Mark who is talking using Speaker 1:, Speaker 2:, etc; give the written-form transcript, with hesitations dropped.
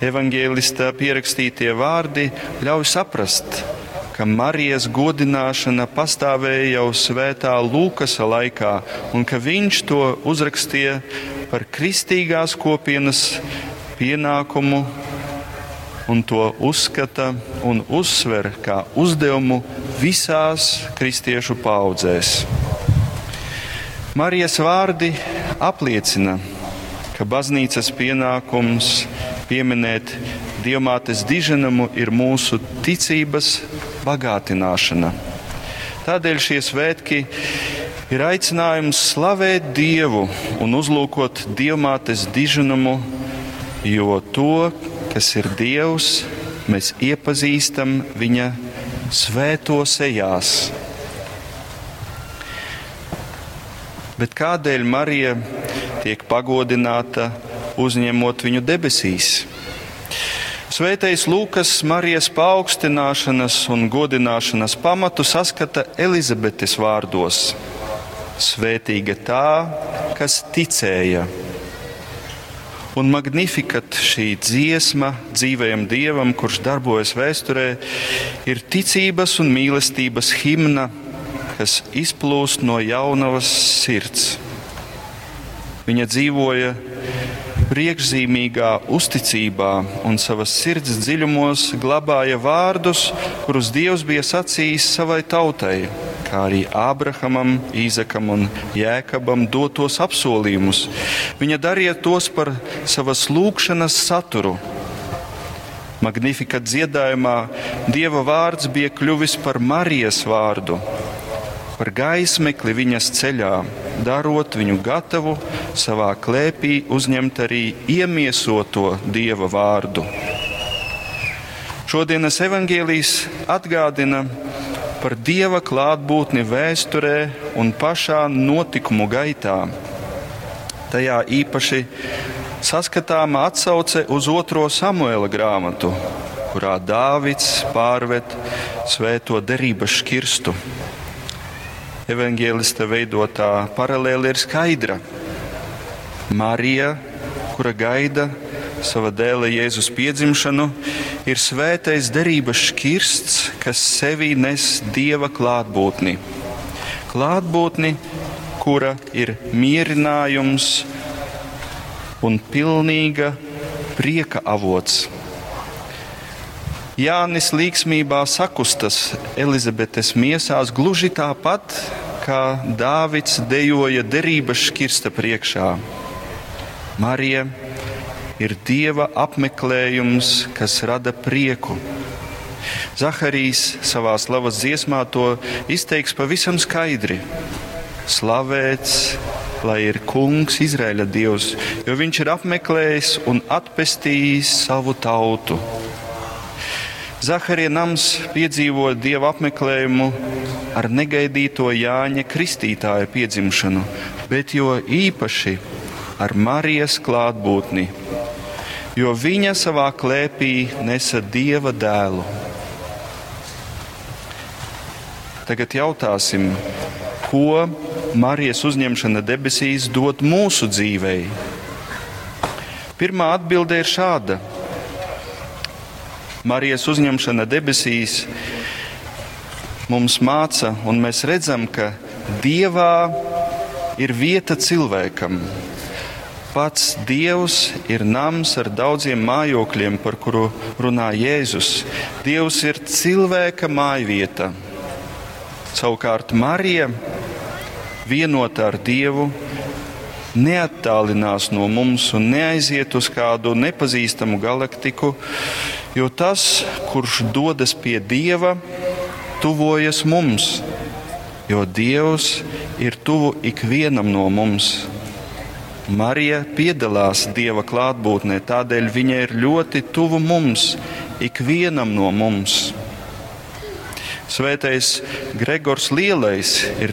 Speaker 1: Evangelista pierakstītie vārdi ļauj saprast, ka Marijas godināšana pastāvēja jau svētā Lūkasa laikā un ka viņš to uzrakstīja par kristīgās kopienas pienākumu un to uzskata un uzsver kā uzdevumu visās kristiešu paudzēs. Marijas vārdi apliecina, ka baznīcas pienākums pieminēt Dievmātes diženumu ir mūsu ticības bagātināšana. Tādēļ šie svētki ir aicinājums slavēt Dievu un uzlūkot Dievmātes diženumu, jo to, kas ir Dievs, mēs iepazīstam viņa svēto sejās. Bet kādēļ Marija tiek pagodināta, uzņemot viņu debesīs? Svētais Lūkas Marijas paaugstināšanas un godināšanas pamatu saskata Elizabetes vārdos: Svētīga tā, kas ticēja. Un Magnificat, šī dziesma dzīvajam Dievam, kurš darbojas vēsturē, ir ticības un mīlestības himna, kas izplūst no jaunavas sirds. Viņa dzīvoja priekšzīmīgā uzticībā un savas sirds dziļumos glabāja vārdus, kurus Dievs bija sacījis savai tautai, kā arī Ābrahamam, Īzakam un Jēkabam dotos apsolījumus. Viņa darīja tos par savas lūgšanas saturu. Magnificat dziedājumā Dieva vārds bija kļuvis par Marijas vārdu, par gaismekli viņas ceļā, darot viņu gatavu savā klēpī uzņemt arī iemiesoto Dieva vārdu. Šodienas evaņģēlijs atgādina par Dieva klātbūtni vēsturē un pašā notikumu gaitā. Tajā īpaši saskatāma atsauce uz otro Samuela grāmatu, kurā Dāvids pārved svēto derības šķirstu. Evanģēlista veidotā paralēle ir skaidra. Marija, kura gaida sava dēla Jēzus piedzimšanu, ir svētais derības šķirsts, kas sevī nes Dieva klātbūtni. Klātbūtni, kura ir mierinājums un pilnīga prieka avots. Jānis līksmībā sakustas Elizabetes miesās gluži tāpat, kā Dāvids dejoja derības šķirsta priekšā. Marija ir Dieva apmeklējums, kas rada prieku. Zaharijs savā slavas dziesmā to izteiks pavisam skaidri. Slavēts, lai ir Kungs, Izraēļa Dievs, jo viņš ir apmeklējis un atpestījis savu tautu. Zaharija nams piedzīvo Dieva apmeklējumu ar negaidīto Jāņa Kristītāja piedzimšanu, bet jo īpaši ar Marijas klātbūtni, jo viņa savā klēpī nesa Dieva dēlu. Tagad jautāsim, ko Marijas uzņemšana debesīs dod mūsu dzīvei? Pirmā atbilde ir šāda. Marijas uzņemšana debesīs mums māca, un mēs redzam, ka Dievā ir vieta cilvēkam. Pats Dievs ir nams ar daudziem mājokļiem, par kuru runā Jēzus. Dievs ir cilvēka mājvieta. Savukārt Marija, vienota ar Dievu, neattālinās no mums un neaiziet uz kādu nepazīstamu galaktiku, jo tas, kurš dodas pie Dieva, tuvojas mums, jo Dievs ir tuvu ikvienam no mums. Marija piedalās Dieva klātbūtnē, tādēļ viņa ir ļoti tuvu mums, ikvienam no mums. Svētais Gregors Lielais ir